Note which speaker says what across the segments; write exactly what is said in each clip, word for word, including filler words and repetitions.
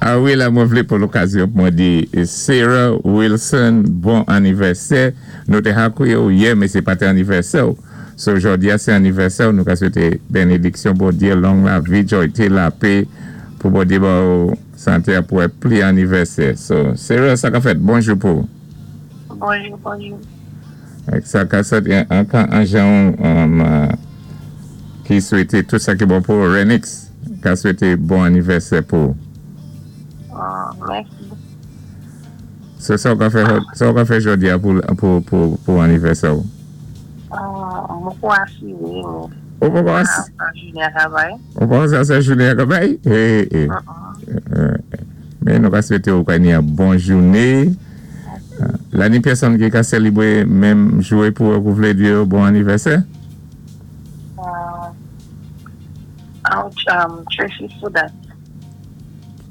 Speaker 1: Ah wi, la, mwen vlé pou lokazyon pou mwen di Sarah Wilson, bon anivèsè. Nou té hakwéyé ou yè, mé sé pa té anivèsè. So, jòdi-a, sé anivèsè. Nou ka swété bénédiksyon, Bondyé, long lavi, jwayté, lapè, pou Bondyé ba ou santé pou wè pli anivèsè. So, Sarah, sa ka fèt? Bonjou pou.
Speaker 2: Bonjou, bonjou.
Speaker 1: Ak sa ka sot, an kan an jan um, uh, ki swété tout sa ki bon pou Renix, ka swété bon anivèsè pou.
Speaker 2: Uh, mèsi.
Speaker 1: So, sa ou ka fè, sa ou ka fè jòdi-a pou, pou, pou, pou anivèsè ou?
Speaker 2: Uh, mwen kwa asiré, mwen.
Speaker 1: Ou pa kwa
Speaker 2: An jounen travay.
Speaker 1: Ou pa sa sa jounen travay? Eh, eh.
Speaker 2: Uh-uh.
Speaker 1: Mé nou ka swété ou ka ni an bon jouné. La ni pèsonn ki ka sélébwé menm joué pou ou vlé di bon anivèsè?
Speaker 2: Uh, um, Tracy Sudat.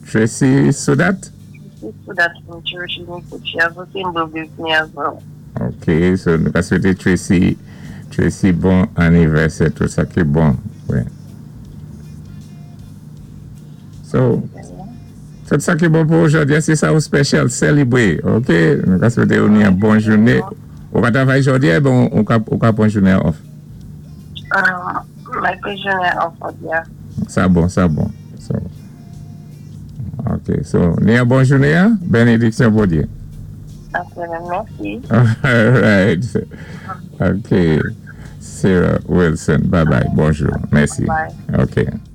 Speaker 1: Tracy Sudat?
Speaker 2: Tracy Sudat from Church in She has the same birthday with me as well.
Speaker 1: Ok, so nou ka swété Tracy, Tracy bon anivèsè, tout sa ki bon. Wi. So, tout sa ki bon pou jòdi, sé sa ou special, sélébwé, ok? Nou ka swété ou ni an bon jouné. Ou ka travay jòdi, bon, ou ka, ou ka pwan jouné off?
Speaker 2: Um, mwen pwan jouné off, yeah.
Speaker 1: Sa bon, sa bon. So, ok, so, ni an bon jouné, hein? Bénédiksyon Bondyé.
Speaker 2: Ok, mèsi.
Speaker 1: All right. Ok. Sarah Wilson, bye bye. Bonjou. Mèsi.
Speaker 2: Bye.
Speaker 1: Ok.